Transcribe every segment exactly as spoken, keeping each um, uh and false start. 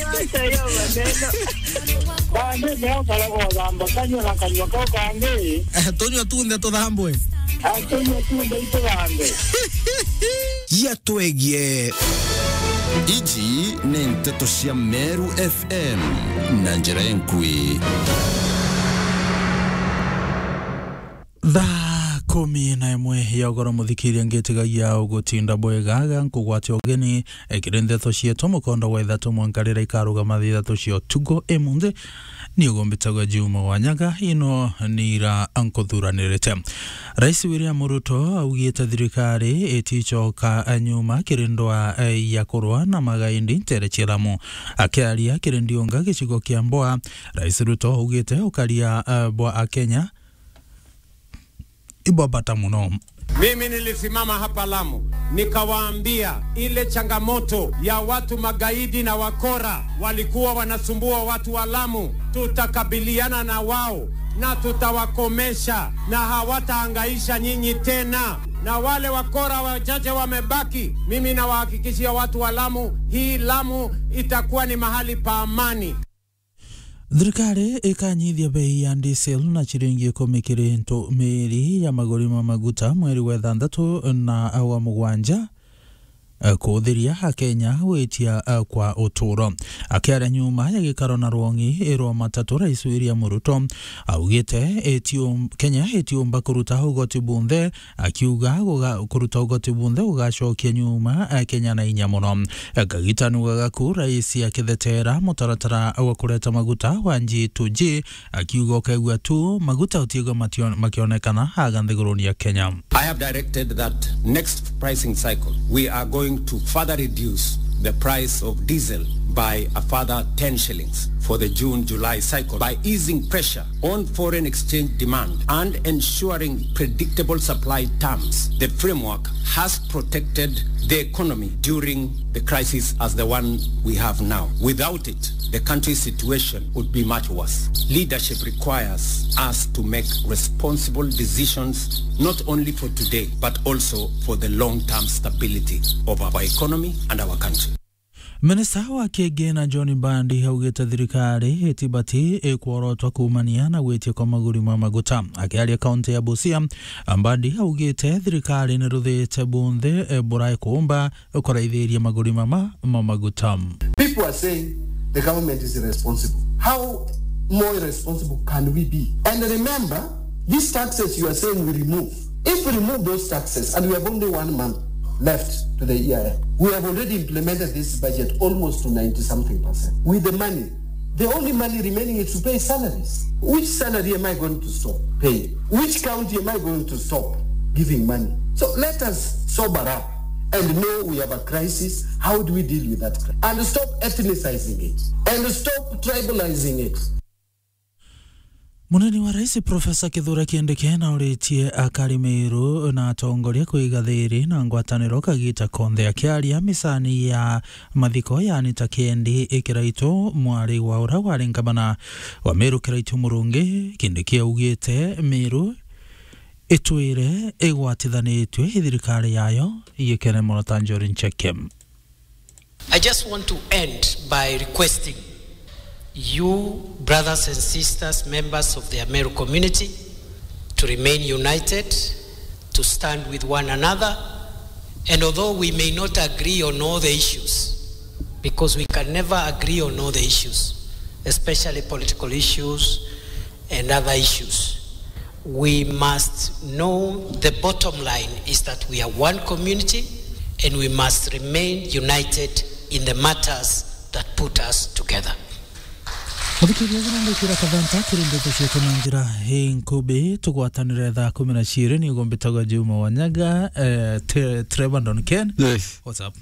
Acha hiyo maneno. Bande leo karago thamba kanywa na kanywa kau kangĩ. Eh, tunywa tunthe tuthambwe. Atunywa tunthe itũthambe. Yatwegie. Iji ni nteto cia Meru F M na njira enkui. Thaa kumi na imwe ya ugoro, muthikiria, ngitigagia ugutinda bwega ga nkugwatia ugeni, eh, kiri ndeto cietu mukondo wa ithatu mwanka riria ikarugama thaa ithatu cia utuku imunthi. Ni ugumbitagwa Juma Wanyaga, ino ni ira nkuthuranirite. Rais William Ruto augite thirikari iticoka nyuma kiri ndwaa, eh, ya kurwa na magaidi ntere cia Lamu. Akiaria kiri Ndiunga gicigo kia Mboa, Rais Ruto augite ukaria, eh, bwa Akenya ibwa bata muno. Mimi nilisimama hapa Lamu, nikawaambia ile changamoto ya watu magaidi na wakora walikuwa wanasumbua watu wa Lamu, tutakabiliana na wao na tutawakomesha na hawatahangaisha nyinyi tena. Na wale wakora wachache wamebaki, mimi nawahakikishia watu wa Lamu, hii Lamu itakuwa ni mahali pa amani. Thirikari ikanyithia bei ya diesel na ciringi ikumi kiri ntumiri ya maguri ma maguta mweri wa ithanthatu na wa mugwanja, eh, kuuthiria Akenya gwitia, eh, kwa uturo. Akiaria nyuma ya gikaro na rwong'i rwa matatu, Rais William Ruto augite itium-, Kenya itiumba kuruta ugoti bunthe, akiuga guga-, kuruta ugoti bunthe gugacokia nyuma, eh, Kenya na inya muno. Eh, Kagita nugaga ku rais akithetera mutaratara wa kureta maguta wa G to G, akiuga ukaigua tu maguta utiigua matio-, makionekana aga nthiguruni ya Kenya. I have directed that next pricing cycle, we are going to further reduce the price of diesel by a further ten shillings for the June-July cycle by easing pressure on foreign exchange demand and ensuring predictable supply terms. The framework has protected the economy during the crisis as the one we have now. Without it, the country's situation would be much worse. Leadership requires us to make responsible decisions, not only for today, but also for the long-term stability of our economy and our country. Minista wa Kigina John Mbadi augite thirikari itibati ikworotwa kuumania na gwitia kwa maguri ma maguta. Akiaria kaunti ya Busia, Mbadi augite thirikari niruthite bunthe, eh, burai kuumba kuraithiria maguri mama ma maguta. People are saying the government is irresponsible. How more irresponsible can we be? And remember, these taxes you are saying we remove, if we remove those taxes, and we have only one month left to the year, we have already implemented this budget almost to ninety something percent. With the money, the only money remaining is to pay salaries. Which salary am I going to stop paying? Which county am I going to stop giving money? So let us sober up and know we have a crisis. How do we deal with that crisis? And stop ethnicizing it. And stop tribalizing it. Munini wa Rais Profesa Kithure Kindiki nauritie akari Meru na atongoria kwiga thiri na ngwataniro kagita konthe. Akiaria misani ya mathiko ya Anita Kiendi i Kiraitu, mwari wa uria wari ngavana wa Meru Kiraitu Murungi, Kindiki augite Meru itwire igwatithanitue i thirikari yayo yikene mono ta Njuri Ncheke. I just want to end by requesting you, brothers and sisters, members of the Ameru community, to remain united, to stand with one another, and although we may not agree on all the issues, because we can never agree on all the issues, especially political issues and other issues, we must know the bottom line is that we are one community and we must remain united in the matters that put us together. Muthikiria, uguo ningwikira kathanta kiri ndeto cietu na njira inkubi. Tugwatanire thaa kumi na ciiri, ni ugumbitagwa Juma Wanyaga, eh, Tre-, Trevor Don Ken. Yes. What's up?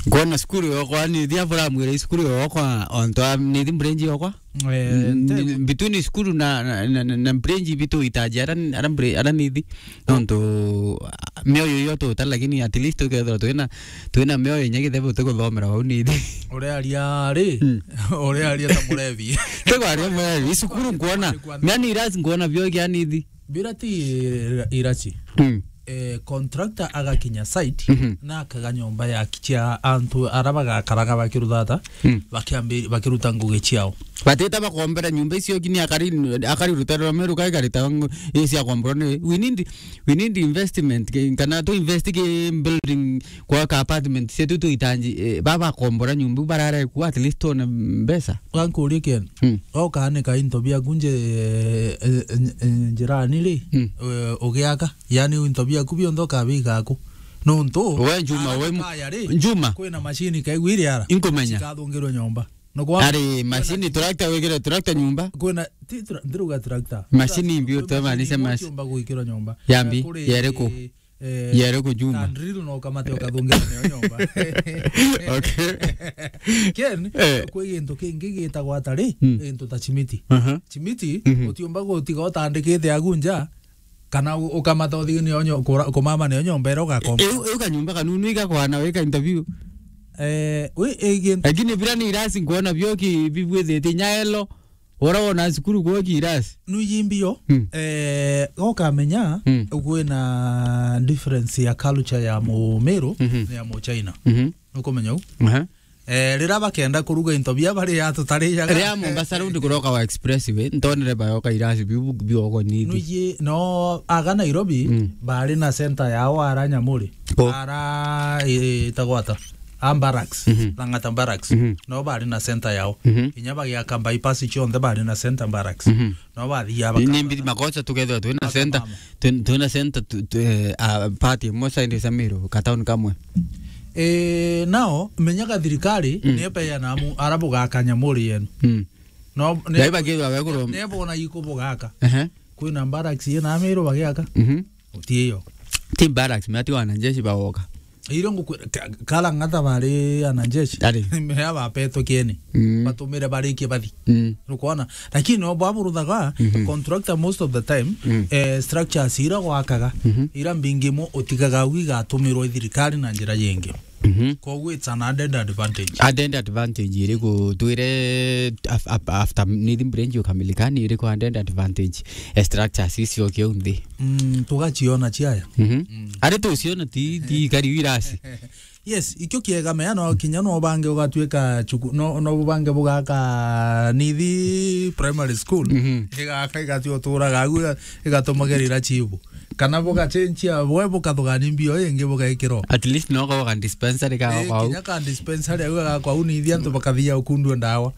Ngwona cukuru yokwa ni thia buramwira cukuru yokwa onto ni thi mbrenji yokwa. Eh, N-, nte- between cukuru na, na, na, na, na mbrenji bitu itaji ara, ara mbrenji, ara ni thi. Nontu, ah, mioyo iyo tuta, lakini at least tukethira twina, twina mioyo inya githebe tuguthomera wau ni thi. Uria aria ri, Mm. Uria aria ta murevi. Tugo aria murevi, cukuru ngwona, yani irasi ngwona bio kia ni thi. Bira ti ira-, iraci. Mm. Eh, contractor agakinya site, Mhm. na akaga nyomba ya cia antu ara bagakaraga bakiruthata, Mm. bakiambi-, bakiruta ngugi ciao. Batita bakombera nyumba icio, kini akari, akari rutero rwa Meru kai karita ngu-, isi akombora ni, we need, we need investment, ke-, kana tu invest ki building, kwa ka apartment, se tu tuitanji, eh, baba kombora nyumba, barare ku at least one mbesa. Wankurie Ken, Mm. oka ni ka into biaku nje, eh, eh, eh, njirani ri, Mm. eh, ugiaka? Yani into biaku bionthe ukabiga aku. Nontu we Njuma, ara we mu-, kaya ri, Njuma. Kwina machine kaigwire ara. Inkumenya. Cikathungirwe nyomba. No kwa Ari kwina machine tractor wigire tractor nyumba. Kwina ti tra-, ndiruga tractor. Machine imbi utemanise mas-, Ukiumba gwikirwa nyomba. Yambi, Kuri, yeriku? Eh, Yeriku Njuma? Tandril no kamate ukathungirwa nio nyomba. Okay. Ken, Eh. Kwi gintu kingi gitagwa atari, Mm. gintu ta chimiti. Aha. Chimiti, Mhm. utiumba gutiga utandikite agu nja, kana u-, ukamata uthigini onyo, kura-, kumama ni onyo mbere ugakomba. Eu, eu kanyumba kanunu igakwana wika interview. Eh, we, eh, gin- Lakini bila ni irasi nkuona bioki bibwithite nyaelo, ora wona cukuru gwoki irasi. Nuiji mbio, Hmm. eh, gokamenya, Hmm. kwina difference ya culture ya Mumiru Mhm. na ya Muchina. Mhm. Nukumenya u? Aha. Eh, rira bakenda kuruga into bia bari ya tutarijaga. Ria Mombasa Road kuroka wa expressway, ntonere bayoka irasi biu biogwa nini. Nuiji, no, aga Nairobi, Mm. bari na center yao ara Nyamuri. Ko. Ara, eh, itagwa ata? A barracks, Mhm. Lang'ata barracks. Mhm. No bari na center yao. Mhm. Inya bagiaka bypass cionthe bari na center barracks. Mhm. No bathia. Ni, ni bakama. Mbiri makosa tukethwa twina Bakama. Center, twi-, twina center tu, tu, eh, a, party imwe side cia Meru, ka town kamwe. Eh, nao, menyaga thirikari, Mm. ni epeana amu, ara bugaka Nyamuri yenu. Mm. No, ne-, Ngai bagirwa we kurwa- ne bona iko bugaka. Ehe. Kwina barracks yena Meru bagiaka. Mhm. Utiyo. Ti barracks, me ati wanajeshi bagoka. Iro ngukwira, ka-, ka Lang'ata bari anajeshi. Ari. Mea bapetwe kieni. Mm. Batumire barikie bathi. Mm. Nukwona? Lakini no bwaburuthaga, Mhm. contractor most of the time, Mm. eh, structures ira gwakaga, Mhm. ira mbingi mo utigaga au igatumirwo i thirikari na njira yingi. Mhm. Koguo it's an added advantage. Added advantage iriku twire af-, af-, after Nithi Bridge ukamilika, ni iriku added advantage? Eh, structures icio kiu nthi. Mm, tugaciona ciaya. Mhm. Mm. Ari tuciona ti, ti kari wirasi. Yes, ikio kiega mea no kinya no bange ugatuika chuku-, no, no bange bugaka Nithi Primary School. Mhm. Igaka igati uturaga au iga-, igatumagerira chibu. Kana bugachenjia, bwe bukathugania mbio ingi bugaikirwo. At least no gwa dispensary ka Eh, kwau. Kinya ka dispensary au ga kwau Nithi antu bakathia ukundua ndawa.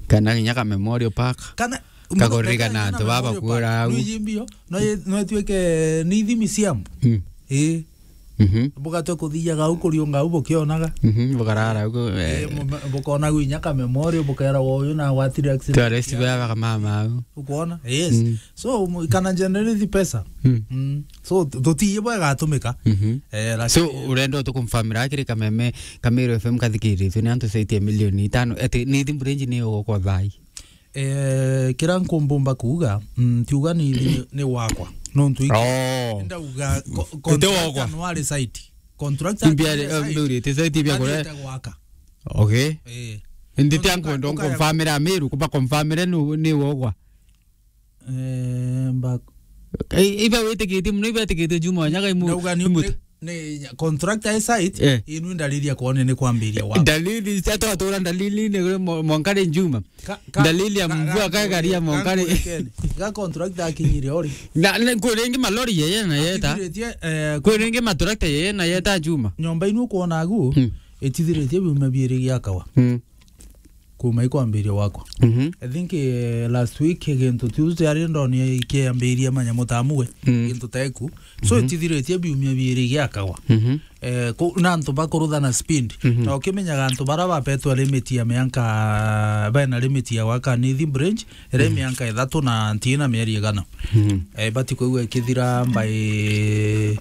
Kana kinya ka memorial park. Kana Kakuririkana antu baba kuura au. Nuiji mbio, no ye-, no ituike Nithi Museum. Mm. Eh. Mhm. Bugatwe kuthiaga au kuriunga au bukionaga. Mhm, bukarara au, eh. Eh, mu-, bukona gwinya ka memorial, bukera uyu na gwatire accident. Tourist baba kamama au. Ukwona? Yes. Mm. So, mu-, kana generate pesa. Mm. Mm. So, tu-, tutiye bwa gatumika. Mhm. Eh, lakini So, urenda utukumfamira kiri kameme, Kamero F M kathikiritwe ni antu site ya milioni itano. Ati, Nithi Bridge ni ugukwa thai. Eh, kira nkumbumba kuuga, mm, tiuga ni, ni, ni wakwa. Nontu iki-, Oh. ndauga ko-, Ite contractor wakwa. No ari site. Contractor Imbia ari ri-, site. Mbeuri, ite site ibia kore. Athiite gwaka. Okay. Eh. Indi Nontu tia nkwenda uka-, uka-, nkumfamira Meru, kuba kumfamire ni, ni wogwa. Eh, mba- Eh, iba witikitie muno, iba witikitie Juma Wanyaga imu-, Ndauga ni imuta. Ni contractor e site, Eh. Inu ndariria kwone ni kwambiria wa. Dalili, cia twatura dalili ni mo-, mwankari Juma. Ka-, ka-, Dalili ya ka-, mvua ka-, kagaria ka-, mwankari. Ka contractor akinyire ori. Na, na, kwi ringi malori yeye na yeta. Atithiritie, eh, Kwi ringi matrakta yeye na yeta Juma. Nyomba inu ukwona agu, Hmm. Itithiritie biumia biiri giakawa. Hmm. Kuma ikwambiria wakwa. Mhm. I think, eh, last week gintu Tuesday ari ndoni ikiambiria manyamu ta amwe, Mm. gintu ta iku. So, Mhm. Itithiritie biumia biiri giakagwa. Mhm. Eh, ku-, na antu bakuruthana speed. Mhm. Na ukimenyaga antu bara bapetwe limit ya mianka, bena limit ya gwaka Nithi Bridge, iri Mhm. mianka ithatu na ntina mieri igana. Mhm. Eh, bati kwigua ikithira by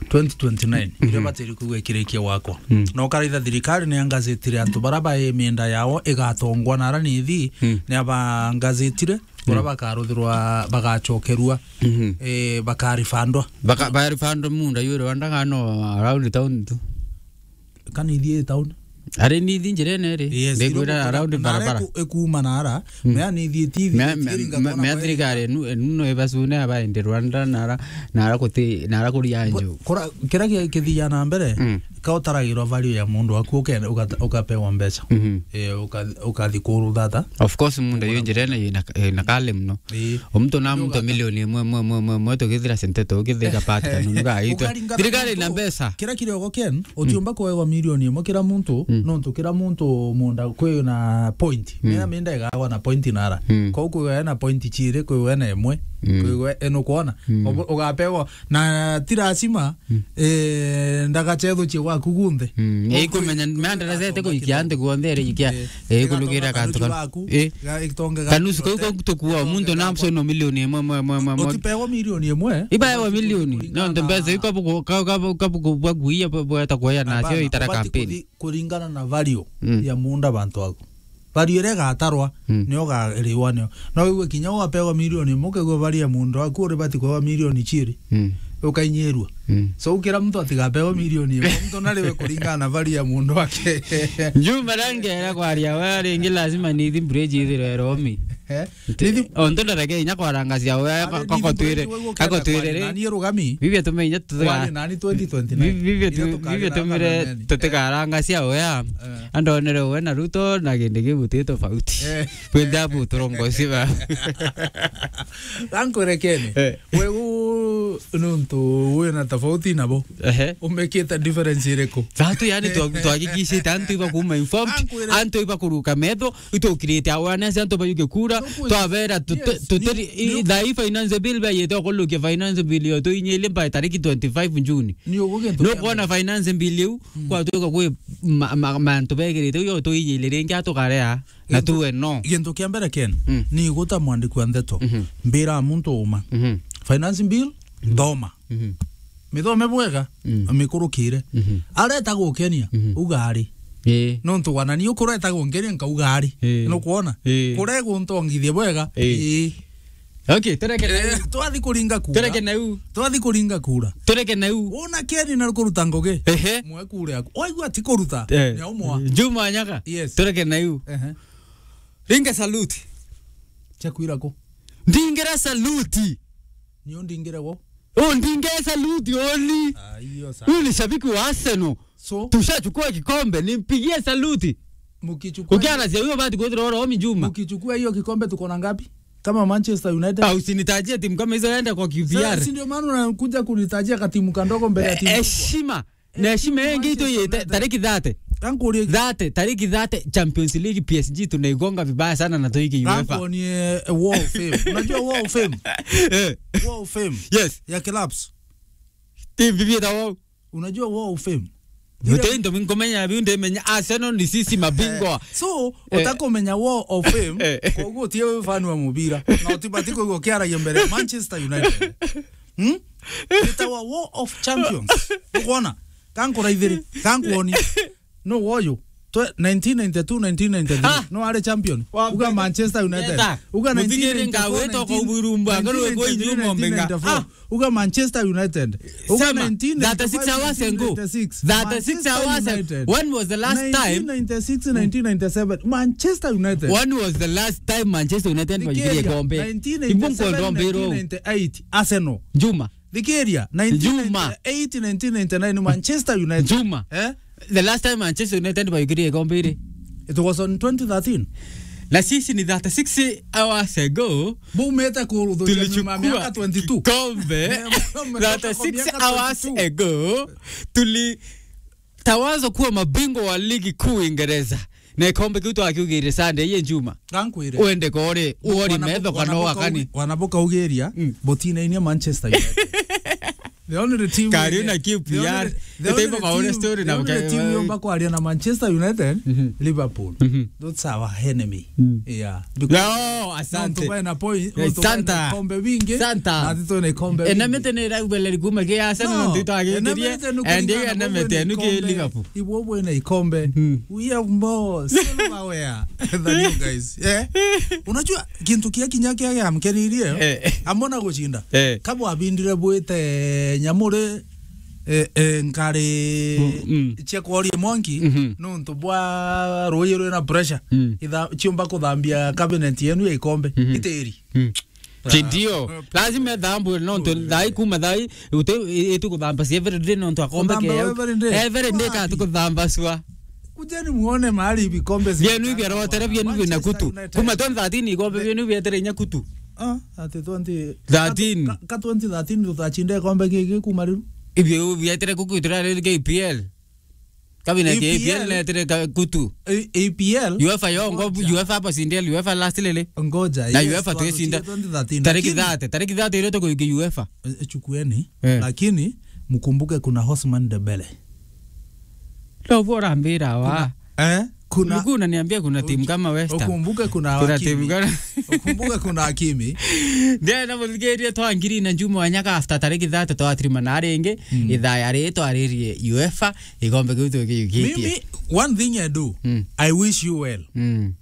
twenty twenty-nine, iria Mhm. batiri kwigua ikirikia gwakwa. Mm. Na ukaraitha thirikari ni angazitire antu bara bai mienda yao igatongwa na ara Nithi, Mm. ni abangazitire, ura Mm. bakaruthirwa, bagachokerua, Mhm. eh, bakarifandwa. Baka-, barifandwa munda yu Rwanda kana no around town tu? Kana Nithi i town? Ari nithi njirene ri? Yes, ndikwira around barabara. Iku-, ikuuma nara, mm, mea nithi itithi, mea, mea, mea thirikari enu, enu no ibacune abaende Rwanda, nara, nara kuti, nara kuria nju. Kura, kira ki-, kithia na mbere, mm, ka utaragirwa value ya mundu waku, uke-, ukata-, ukapewa mbeca. Mhm. Eh, uka-, ukathi kuru thata. Of course, mundu yu njirene ina, ina kale muno. Ii. Omuntu na muntu milioni imwe, imwe, imwe, imwe, imwe, tukithira sente tukithira part kanunu gaitwe. Ukaringana na thirikari na muntu, mbeca. Kira kiriogo Ken, utiumba kuegwa milioni imwe kira muntu, mm, nontu kira muntu munda kwi na point. Mm. Mena minda igagwa na point nara. Mm. Kwou kwiwe ena point chiiri, kwiwe ena imwe, mm, kwiwe ena kuona. Mm. Ubu-, ugapewa na ti lazima, mm, eh, ndagachethuchie gwaku gunthe. Mm. Kwou ikumenya kwi-, mea ndaracete kwi guikia antu guonthe iri ikia. Eh. Eh, kulugira kantu kanu. Eh. Kanusu kau kau tukua muntu na msono milioni imwe, imwe, imwe, imwe, imwe. Utipewa milioni imwe. Ibaewa milioni. No, ndo mbeca ikabu, kabu, kabu, kabu, bwa guia, bwa, bwa, ta kuoya nacio itara kampeni. Kuringana na value, mm, ya munda bantu aku. Value iria igatarwa, mm, nio ugariwa nio. No wigue kinya ugapewa milioni imwe, ukaigua value ya munda waku uribati kuewa milioni chiiri. Mm. Ukainyirua. Mm. So, kira muntu atigapewe milioni imwe, muntu nariwe kuringana na value ya muntu wake. Njuma rangera kwaria we ringi lazima nithi bridge ithirwe romi. Eh? Nti-, nithi- o, ntu ndareke inya kwaranga cia we, ari, ka-, nithi kakotwire, bridge we gukenda kakotwire kwari ri. Nani rugami? Bibia tume inya tutiga-, kwari nani twenty twenty-nine. Bi-, bibia tu-, inya tukarira bibia tumire, nani. Tutikaranga cia we. Eh. Andonere we na Ruto na kindi kiu ti tofauti. Eh. Kwenda bu turongoci ba. Gankurekene. Eh. We u nuntu wina tofauti nabo. Ehe. Umekite difference iriku? Tatu yani twa-, twahakikishite antu iba kuma informed, antu iba kuruka metho, itukirite awareness, antu bayuke kura, twabera tute-, tuteri, i-, thaa ii finance bill bayite okulukia finance bill yo tuinyilie by tariki twenty-five June. Ni uguo gintu. Nukwona finance bill iu, mm, kwatuika kwi ma-, ma-, mantu begirite, uyo tuinyile ringi atukarea. Na tuwe no. Gintu kia mbere Ken, mm, ni guta mwandiki wa ndeto. Mhm. Mbira muntu uma. Mhm. Finance bill, thoma. Mhm. Mithome bwega, mm, mikurukire. Mhm. Areta gukenia, mhm, uga ari. Ii. Nontu wana ni ukureta gunkenia nkauga ari. Ii. Nukwona? Ii. Kure guntongithia bwega. Ii. Ii. Okay, tureke na, eh, iu. Twathi kuringa kura. Tureke na iu. Twathi kuringa kura. Tureke na iu. Wona Ken na kuruta ngugi. Ehe. Mwe kura yaku. Waigua ti kuruta. Eh. Ni aumwa. Juma Nyaga. Yes. Tureke na iu. Ehe. Ringa salute. Chakwira ku? Ndingira salute. Ni undingire wo? Undingire salute only. Ah, hiyo sawa. Huyu ni shabiki wa Arsenal. So? Tushachukua kikombe, nimpigie salute. Mukichukua. Ukiana cia huyo bati kwithira oro omi Juma. Mukichukua hiyo kikombe tuko na ngapi? Kama Manchester United. Ah, usinitajie timu kama hizo, enda kwa Q P R. Sasa, si ndio maana unakuja kunitajia katimu kandogo mbele ya timu kubwa? Eh, heshima. Na heshima yengi itu ye ta-, tariki thirty. Kankurie. Thirty, tariki thirty, Champions League, P S G tunaigonga vibaya sana na tuiki UEFA. Kankuonie, eh, Wall of Fame. Unajua Wall of Fame? Eh. Wall of Fame. Yes. Ya clubs. Timu bibi ta wao. Unajua Wall of Fame? Yote ndo minkomenya biu ndemenya Arsenal ni sisi mabingwa. Eh. So, eh, utakomenya Wall of Fame, eh, kwa hiyo tie fan wa mubira. Na utibati kwa hiyo kiaragia mbere Manchester United. Hmm? Itawa Wall of Champions. Ukwona? Kankuraithiri, kankuoni. No woyo. Twe-, nineteen ninety-two, nineteen ninety-three. Ah. No are champion. Wa Uga mbere. Manchester United. Yeta. Uga Muthigiri nineteen ninety-four, ngaweta kwa nineteen, uburumba, ngarwe kwa nineteen ninety-three, inyuma nineteen ninety-four. Mbenga. Ah. Uga Manchester United. Uga Sema, nineteen ninety-five, thirty-six hours ago. Nineteen ninety-six. Thirty-six hours ago. Manchester United. When was the last time? Nineteen ninety-six, nineteen ninety-seven. Manchester United. When was the last time Manchester United bayukirie kombe? Nigeria, nineteen ninety-seven, Ibungo ndombero. Nineteen ninety-eight, Arsenal. Juma. Thikiria, Juma. Nineteen ninety-eight, nineteen ninety-nine, Manchester United. Juma. Eh? The last time Manchester United bayukirie kombe iri? It was on twenty thirteen. Na sisi ni thirty-six hours ago. Bumete kuruthukia nyuma ya miaka twenty-two. Tulichukua kikombe. Eh, mtoka kwa thirty-six miaka hours twenty-two ago, tulitawazwa kuwa mabingwa wa ligi kuu Uingereza. Na ikombe kiu twakiugire Sunday ye Juma. Gankwire. Uende kore, uori metho kana wakani. Wanaboka ugiria, mm, butinainia Manchester United. The only team Kari yenye, una Q P R. The only, the only team, story the na only team yomba kwaria na Manchester United, mhm, Liverpool. Mhm. That's our enemy. Mm. Yeah. Because no, asante. Nontu bena poi, eh, nontu bena Santa. Ikombe bingi, Santa. Na tito na ikombe bingi. Ena mete ni raubeleri kuma ke Arsenal, no, nontu ito agikirie, ena mete nukuringana and ena mete nuke Liverpool. Ibwo bwina ikombe. Mm. We have more silverware than you guys. Eh? Unajua kintu kia kinya kia giamkenirie, eh, amona gucinda. Eh. Kabwa abindire bwite nyamuri eh, eh, nkari Mm, mm. cia kworia mwanki Mhm. nontu bwa ruuji rwina pressure. Mm. Itha-, ciumba kuthambia cabinet yenu ya ikombe. Mhm. Itiri. Mm. Ti ndio. Lazima ithambwe nontu thai kuma thai uti-, i-, itu kuthamba cia every day nontu akombe Kuthamba keo. Every day. Every day ka Wapi? Tukuthamba cua. Kujeni muone mahali vikombe Bienu zimejaa. Ibiarotere, bienu bina Manchester kutu. United. Kuma twenty thirteen ikombe bienu bietere inya kutu. Ah, ati twenty Thirteen. Ka, ka twenty thirteen tutacinde ikombe giki kuma riu. Ibio bietere kuku itira riri K P L. Kabina K P L. A P L netere ka-, kutu. A-, A P L? UEFA yo ngo, Ngoja. UEFA hapa sindel, UEFA last lele. Ngoja, Na yes, UEFA twaruchire twenty thirteen, tariki lakini thirty, tariki thirty ile tukuikia UEFA. Eh, chukueni. Eh. Lakini mkumbuke kuna Ousmane Dembele. Ndo bora mbira wa. Eh? Kuna Ulikuwa unaniambia kuna timu kama West Ham. Ukumbuke kuna Kuna Hakimi. timu gani? Ukumbuke kuna Hakimi. Ndena muthikirie twa ngiri na njuma wa nyaka after tariki thirty twa trima na ringi, Mm. ithaa ya ri twaririe UEFA, ikombe kiu tukiukitie. Mimi, one thing I do, Mm. I wish you well. Mm.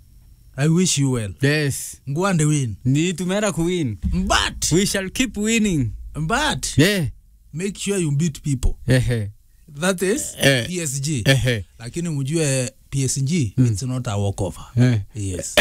I wish you well. Yes. Ngwande win. Ni tumera ku win. But We shall keep winning. But Yeah. make sure you beat people. Ehe. That is Eh. P S G. Ehe. Lakini mjue P S G, Mm. it's not a walkover. Eh. Yes.